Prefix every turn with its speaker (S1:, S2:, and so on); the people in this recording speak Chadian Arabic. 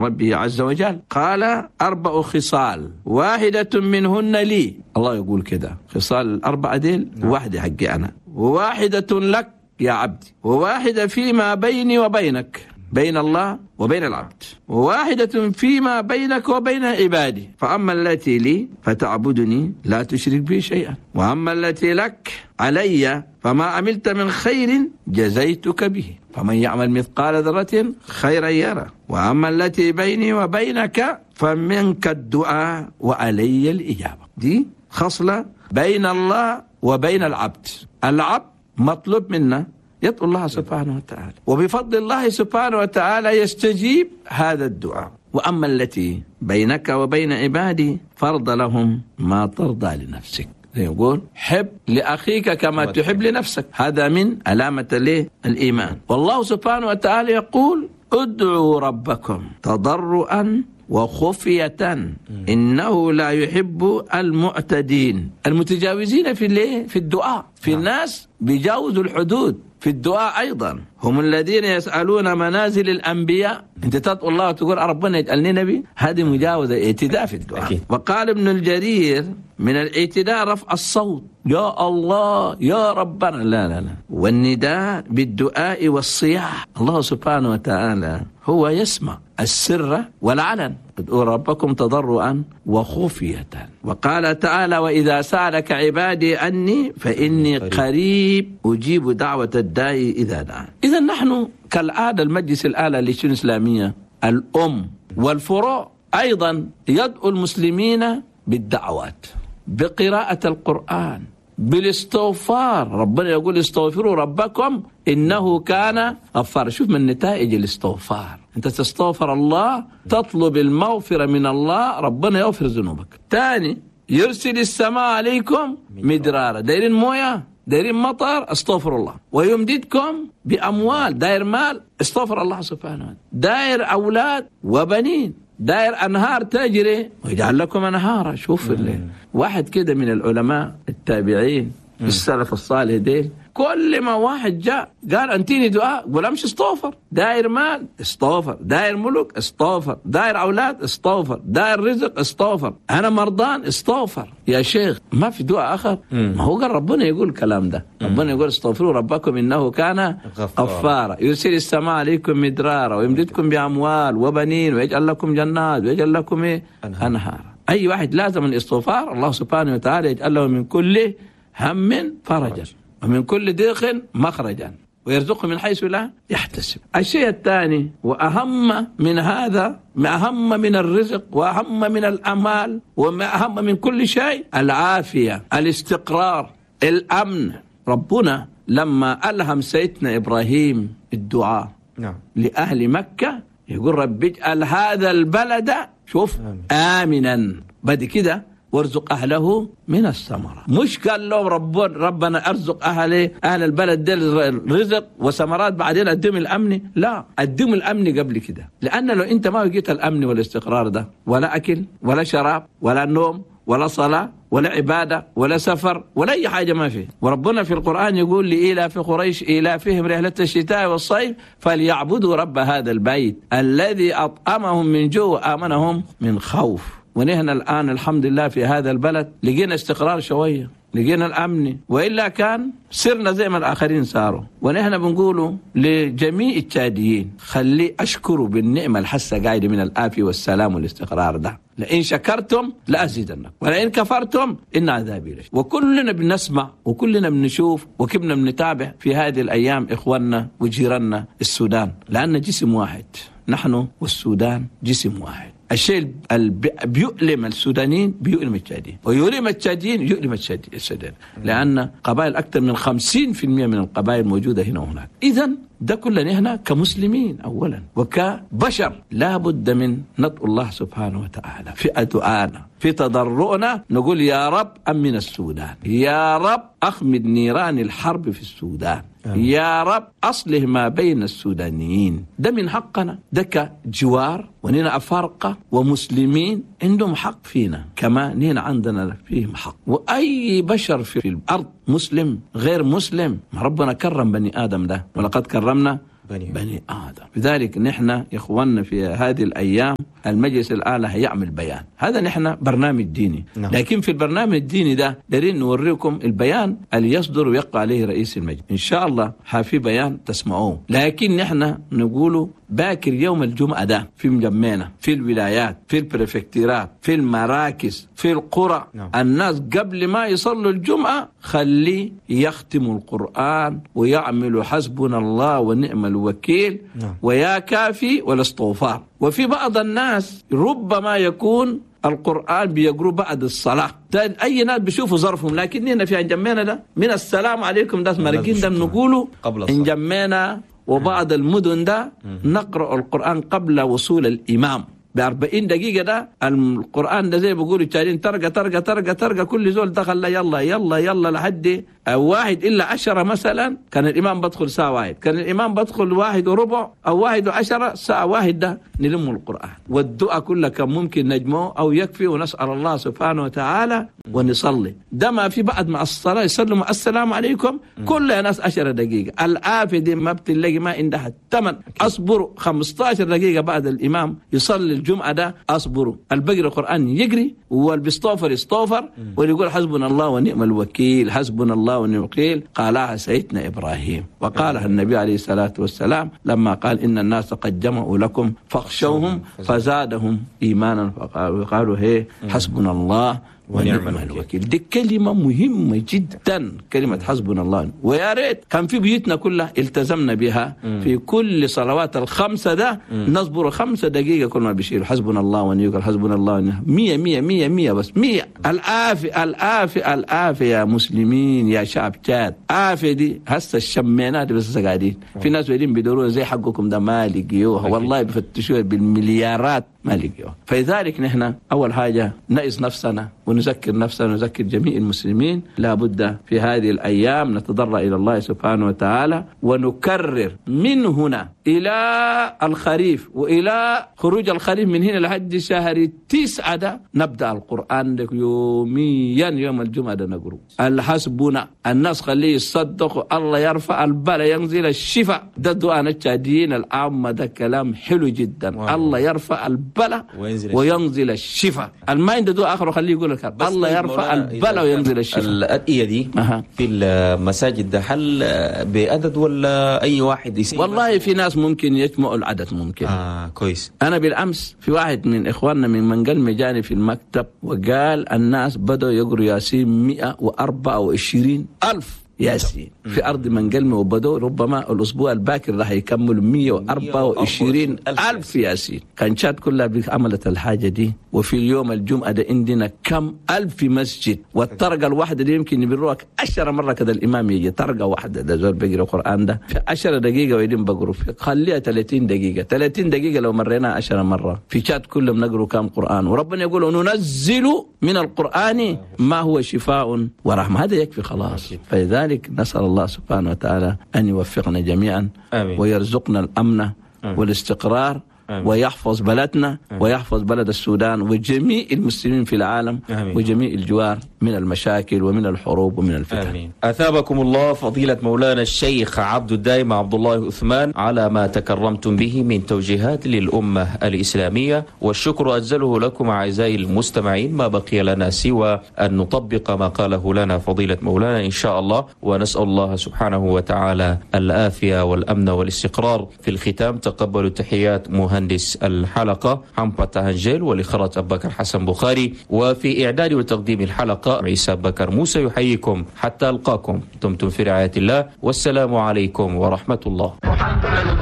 S1: ربه عز وجل قال: 4 خصال واحدة منهن لي. الله يقول كده، خصال الأربعة ديل واحدة حقي أنا، وواحدة لك يا عبدي، وواحدة فيما بيني وبينك، بين الله وبين العبد، وواحدة فيما بينك وبين عبادي. فأما التي لي فتعبدني لا تشرك بي شيئا، وأما التي لك علي فما عملت من خير جزيتك به، فمن يعمل مثقال ذرة خيرا يره. وأما التي بيني وبينك فمنك الدعاء وعلي الإجابة. دي خصلة بين الله وبين العبد. العبد مطلوب منا يدعو الله سبحانه وتعالى، وبفضل الله سبحانه وتعالى يستجيب هذا الدعاء. وأما التي بينك وبين عبادي فرض لهم ما ترضى لنفسك. يقول حب لأخيك كما تحب لنفسك، هذا من علامة الإيمان. والله سبحانه وتعالى يقول: ادعوا ربكم تضرعا وخفية إنه لا يحب المعتدين. المتجاوزين في الدعاء، في الناس بيجاوزوا الحدود في الدعاء أيضا. هم الذين يسألون منازل الأنبياء. أنت تدعو الله وتقول ربنا يجعلني نبي، هذه مجاوزة، اعتداء في الدعاء. أكيد. وقال ابن الجرير: من الاعتداء رفع الصوت، يا الله يا ربنا، لا لا لا، والنداء بالدعاء والصياح. الله سبحانه وتعالى هو يسمع السر والعلن. ادعوا ربكم تضرعا وخفية. وقال تعالى: وإذا سألك عبادي عني فإني قريب أجيب دعوة الداعي إذا دعان. إذا نحن كالعادة المجلس الأعلى للشؤون الإسلامية الأم والفروع أيضا يدعو المسلمين بالدعوات، بقراءة القرآن، بالاستغفار. ربنا يقول استغفروا ربكم إنه كان غفارا. شوف من نتائج الاستغفار، أنت تستغفر الله، تطلب المغفرة من الله، ربنا يغفر ذنوبك. ثاني، يرسل السماء عليكم مدرارا، دايرين موية، دايرين مطر، استغفر الله. ويمددكم بأموال، داير مال، استغفر الله سبحانه وتعالى. داير أولاد وبنين، داير أنهار تجري ويجعل لكم أنهارا. شوف اللي واحد كده من العلماء التابعين السلف الصالح ديل، كل ما واحد جاء قال أنتيني دعاء، قول أمشي استغفر. داير مال استغفر، داير ملك استغفر، داير أولاد استغفر، داير رزق استغفر، أنا مرضان استغفر. يا شيخ ما في دعاء آخر؟ ما هو قال ربنا يقول الكلام ده. ربنا يقول استغفروا ربكم إنه كان غفارا، يرسل السماء عليكم مدرارا ويمددكم بأموال وبنين ويجعل لكم جنات ويجعل لكم أنهارا. أي واحد لازم الاستغفار، الله سبحانه وتعالى يجعل له من كل هم فرجا ومن كل ضيق مخرجا ويرزقه من حيث لا يحتسب. الشيء الثاني وأهم من هذا، أهم من الرزق وأهم من الأمال وأهم من كل شيء، العافية، الاستقرار، الأمن. ربنا لما ألهم سيدنا إبراهيم الدعاء لأهل مكة يقول رب اجعل هذا البلد، شوف، آمنا، بعد كده وارزق أهله من الثمرة. مش قال لهم ربنا أرزق أهل البلد دي رزق وثمرات بعدين أديهم الأمن، لا، أديهم الأمن قبل كده. لأن لو أنت ما لقيت الأمن والاستقرار ده، ولا أكل ولا شراب ولا نوم ولا صلاة ولا عبادة ولا سفر ولا أي حاجة ما فيه. وربنا في القرآن يقول لإيلاف قريش إيلافهم رحلة الشتاء والصيف فليعبدوا رب هذا البيت الذي أطعمهم من جوع وآمنهم من خوف. ونحن الآن الحمد لله في هذا البلد لقينا استقرار شوية، لقينا الأمن، وإلا كان سرنا زي ما الآخرين صاروا. ونحن بنقوله لجميع التشاديين خلي أشكروا بالنعمة الحسة قاعدة من العافية والسلام والاستقرار ده. لئن شكرتم لأزيدنكم ولئن كفرتم إن عذابي لشديد. وكلنا بنسمع وكلنا بنشوف وكلنا بنتابع في هذه الأيام إخواننا وجيراننا السودان، لأن جسم واحد، نحن والسودان جسم واحد. الشيء اللي بيؤلم السودانيين بيؤلم التشاديين، ويؤلم التشاديين يؤلم السودانيين، لأن قبائل أكثر من 50% من القبائل موجودة هنا وهناك. إذن ده كلنا هنا كمسلمين أولا وكبشر لا بد من ندعو الله سبحانه وتعالى في دعائنا في تضرعنا، نقول يا رب أمن السودان، يا رب أخمد نيران الحرب في السودان، يا رب أصلح ما بين السودانيين. ده من حقنا، ده كجوار ونينا أفارقة ومسلمين عندهم حق فينا كما نينا عندنا فيهم حق. وأي بشر في الأرض مسلم غير مسلم، ما ربنا كرم بني آدم ده، ولقد كرمنا بني آدم. لذلك نحن يا إخواننا في هذه الأيام المجلس الأعلى هيعمل بيان. هذا نحن برنامج ديني.
S2: نعم.
S1: لكن في البرنامج الديني ده دارين نوريكم البيان اللي يصدر ويقع عليه رئيس المجلس إن شاء الله. في بيان تسمعوه، لكن نحن نقوله باكر يوم الجمعة ده في مجمعنا، في الولايات، في البريفكتيرات، في المراكز، في القرى.
S2: نعم.
S1: الناس قبل ما يصلوا الجمعة خلي يختموا القرآن ويعملوا حسبنا الله ونعم الوكيل.
S2: نعم.
S1: ويا كافي والاستغفار. وفي بعض الناس ربما يكون القرآن بيقروا بعد الصلاة، أي ناس بيشوفوا ظرفهم، لكن هنا في انجمينا ده من السلام عليكم ده مرقين ده بنقوله انجمينا وبعض المدن ده نقرأ القرآن قبل وصول الإمام ب40 دقيقة. ده القرآن ده زي بيقولوا التالين ترقى ترقى ترقى ترقى، كل زول دخل يلا يلا يلا لحد 1:50 مثلا. كان الإمام بدخل الساعة 1، كان الإمام بدخل 1:15 أو 1:10، الساعة 1 ده نلم القرآن والدعاء كله كان ممكن نجمعه أو يكفي، ونسأل الله سبحانه وتعالى ونصلي. ده ما في بعد مع الصلاة يسلموا السلام عليكم كل ناس 10 دقيقة. الآفة دي ما بتلاقي ما عندها الثمن. أصبروا 15 دقيقة بعد الإمام يصلي الجمعة ده، أصبروا. البقر القرآن يجري والبيستوفر يستوفر واللي يقول حسبنا الله ونعم الوكيل، حسبنا الله ونعم الوكيل. قالها سيدنا إبراهيم وقالها النبي عليه الصلاة والسلام لما قال إن الناس قد جمعوا لكم فاخشوهم فزادهم إيمانا فقالوا هي حسبنا الله ونعم الوكيل. دي كلمة مهمة جدا، كلمة حسبنا الله. ويا ريت كان في بيوتنا كلها التزمنا بها في كل صلوات الخمسة ده. نصبر 5 دقيقة كل ما بيشيلوا حسبنا الله ونعم الوكيل، حسبنا الله ونعم، 100 100 100 100 بس 100. الآفة الآفة الآفة يا مسلمين يا شعب تشاد. آفة دي هسه الشمينات بس قاعدين في ناس قاعدين بيدوروها زي حقكم ده ما لقيوها والله، بيفتشوها بالمليارات ما لقيوها. فلذلك نحن أول حاجة نقص نفسنا ونذكر نفسنا ونذكر جميع المسلمين، لابد في هذه الأيام نتضرع إلى الله سبحانه وتعالى ونكرر من هنا إلى الخريف وإلى خروج الخريف من هنا لحد شهر 9 ده نبدأ القرآن يوميا. يوم الجمعة ده نقرأ الحسبنا، الناس خليه يصدقوا، الله يرفع البلاء ينزل الشفاء. ده دعاء التشاديين العامة، ده كلام حلو جدا. واو. الله يرفع البلاء وينزل الشفاء. الما عنده دعاء آخر خليه يقول لك الله يرفع البلاء وينزل الشفاء.
S3: الأدعية دي في المساجد ده هل بعدد ولا أي واحد يسيب؟
S1: والله في ناس ممكن يجمعوا العدد ممكن.
S3: كويس.
S1: أنا بالأمس في واحد من إخواننا من منقل مجاني في المكتب وقال الناس بدأوا يقروا ياسين 124,000 ياسين في أرض منقلمة، وبدو ربما الأسبوع الباكر راح يكملوا 124,000 ياسين. كان شاد كلها عملت الحاجة دي. وفي اليوم الجمعة ده عندنا كم ألف مسجد، والطرقة الواحدة دي يمكن يبروك 10 مرة كده الإمام يجي طرقة واحدة ده زول بيقرأ القرآن ده في 10 دقيقة ويدين بقروا في خليها 30 دقيقة، 30 دقيقة لو مرينا 10 مرة في شاد كلهم نقروا كم قرآن. وربنا يقول ننزل من القرآن ما هو شفاء ورحمة، هذا يكفي خلاص. فلذلك نسأل الله سبحانه وتعالى أن يوفقنا جميعا. آمين. ويرزقنا الأمن. آمين. والاستقرار. آمين. ويحفظ بلدنا. آمين. ويحفظ بلد السودان وجميع المسلمين في العالم. آمين. وجميع الجوار من المشاكل ومن الحروب ومن الفتن.
S3: آمين. أثابكم الله فضيلة مولانا الشيخ عبد الدائم عبد الله عثمان على ما تكرمتم به من توجيهات للأمة الإسلامية، والشكر أجزله لكم أعزائي المستمعين. ما بقي لنا سوى أن نطبق ما قاله لنا فضيلة مولانا إن شاء الله، ونسأل الله سبحانه وتعالى العافية والأمن والاستقرار. في الختام تقبلوا تحيات مهندس الحلقة حمبة هنجيل، والإخراج أبو بكر حسن بخاري، وفي إعداد وتقديم الحلقة عيسى بكر موسى يحييكم حتى ألقاكم. دمتم في رعاية الله، والسلام عليكم ورحمة الله.